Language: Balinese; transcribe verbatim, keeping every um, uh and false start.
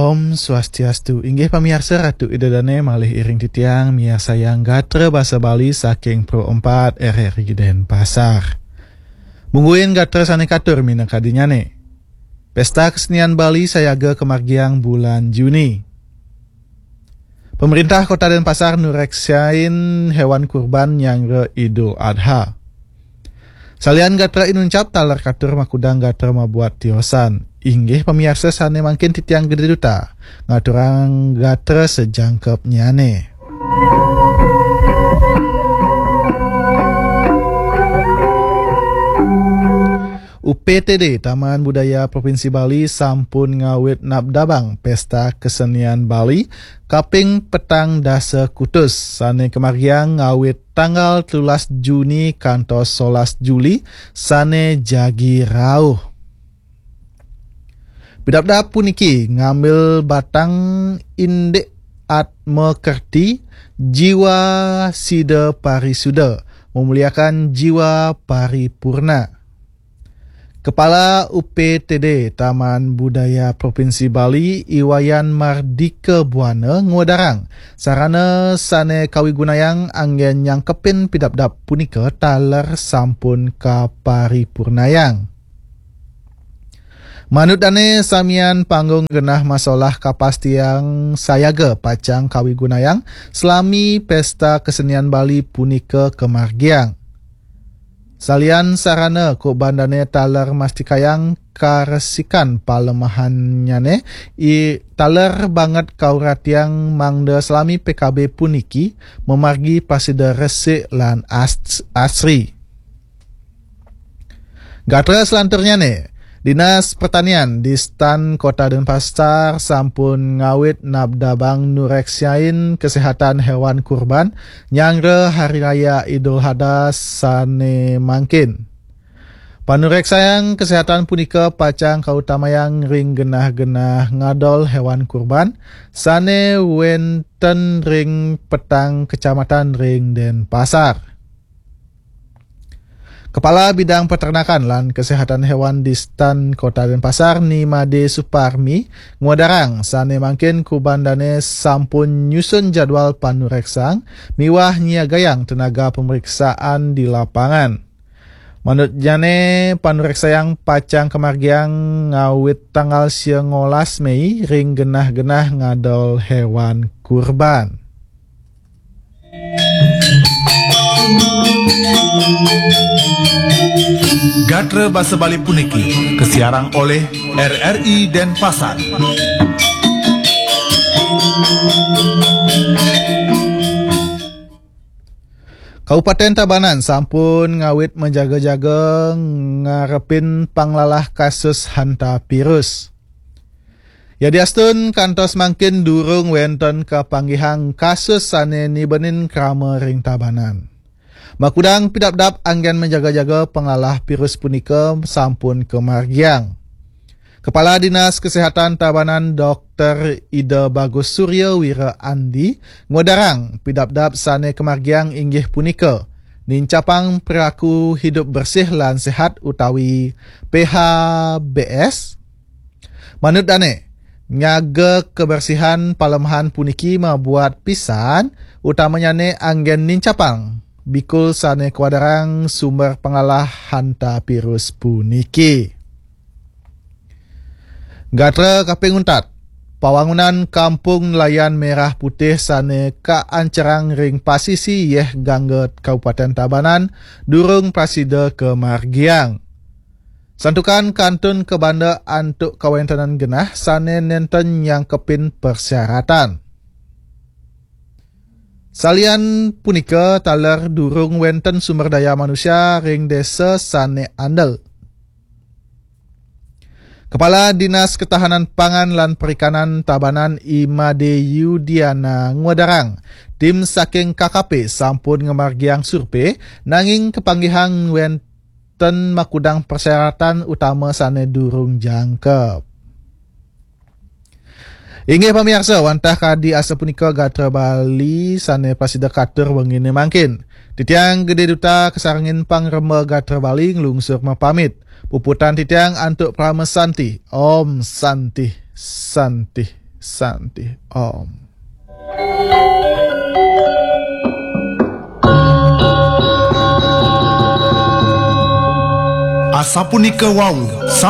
Om Swastiastu. Inggih pamiarsa, Ratu Ida Dane malih iring titiang miarsayang gatra basa Bali saking Pro empat R R I Denpasar. Mungguing gatra sane katur minakadinyane. Pesta Kesenian Bali sayaga kamargiang bulan Juni. Pemerintah Kota Denpasar nureksain hewan kurban nyanggra Idul Adha. Salian gatra inuncap taler katur makudang gatra mabuat tiosan. Inggih pamiarsa sane mangkin titiang gede duta ngaturang gatra sejangkepnyane. U P T D Taman Budaya Provinsi Bali sampun ngawit nabdabang Pesta Kesenian Bali kaping petang dasa kutus sane kamargiang ngawit tanggal telulas Juni kantos solas Juli sane jagi rauh. Pidabdab puniki ngambil batang indik atma kerti jiwa sida parisuda, memuliakan jiwa paripurna. Kepala U P T D Taman Budaya Provinsi Bali, Iwayan Mardika Buana, ngwedarang sarana sane kawigunayang anggen nyangkepin pidabdab punika taler sampun kaparipurnayang. Manut dane samian panggung genah masolah kapas tiang sayaga pacang kawigunayang selami Pesta Kesenian Bali punika kamargiang. Salian sarana kubandane taler mastikayang karesikan palemahannyane, i taler banget kauratiang mangda selami P K B puniki mamargi pasida resik lan as-, asri. Gatra selanturnyane, Dinas Pertanian di Stan Kota Denpasar sampun ngawit nabdabang nureksain kesehatan hewan kurban nyanggra Hari Raya Idul Adha sane mangkin. Panureksayang kesehatan punika pacang kautamayang ring genah-genah ngadol hewan kurban sane wenten ring petang kecamatan ring Denpasar. Kepala Bidang Peternakan lan Kesehatan Hewan di Stan Kota Denpasar, Ni Made Suparmi, ngwedarang sane mangkin kubandane sampun nyusun jadwal panureksang miwah nyiagayang tenaga pemeriksaan di lapangan. Manutnyane, panureksayang pacang kamargiang ngawit tanggal sia ngolas Mei ring genah-genah ngadol hewan kurban. Gatra basa Bali puniki kasiarang oleh R R I Denpasar. Kabupaten Tabanan sampun ngawit majaga-jaga ngarepin panglalah kasus hantavirus. Yadiastun kantos mangkin durung wenten kapanggihang kasus sane nibenin krama ring Tabanan. Makudang pidabdab anggen majaga-jaga panglalah virus punika sampun kamargiang. Kepala Dinas Kesehatan Tabanan, Doktor Ida Bagus Surya Wira Andi, ngwedarang pidabdab sane kamargiang inggih punika nincapang perilaku hidup bersih lan sehat utawi P H B S. Manut dane, nyaga kebersihan palemahan puniki mabuat pisan, utamanyane anggen nincapang bikul sane kawadarang sumber panglalah hantavirus puniki. Gatra kaping untat, pawangunan Kampung Nelayan Merah Putih sane kaancerang ring pasisi Yeh Gangga, Kabupaten Tabanan, durung prasida kamargiang. Santukan kantun kabanda antuk kawentenan genah sane nenten nyangkepin persyaratan. Salian punika, taler durung wenten sumber daya manusia ring desa sane andel. Kepala Dinas Ketahanan Pangan lan Perikanan Tabanan, I Made Yudiana, ngwedarang tim saking K K P sampun ngamargiang survei, nanging kapanggihang wenten makudang persyaratan utama sane durung jangkep. Inggih pamiarsa, wantah kadi asapunika gatra Bali sane prasida katur wengine mangkin. Titiang Gede Duta kasarengin pangremba gatra Bali nglungsur mapamit. Puputang titiang antuk Parama Santi. Om Santi, Santi. Santi Om.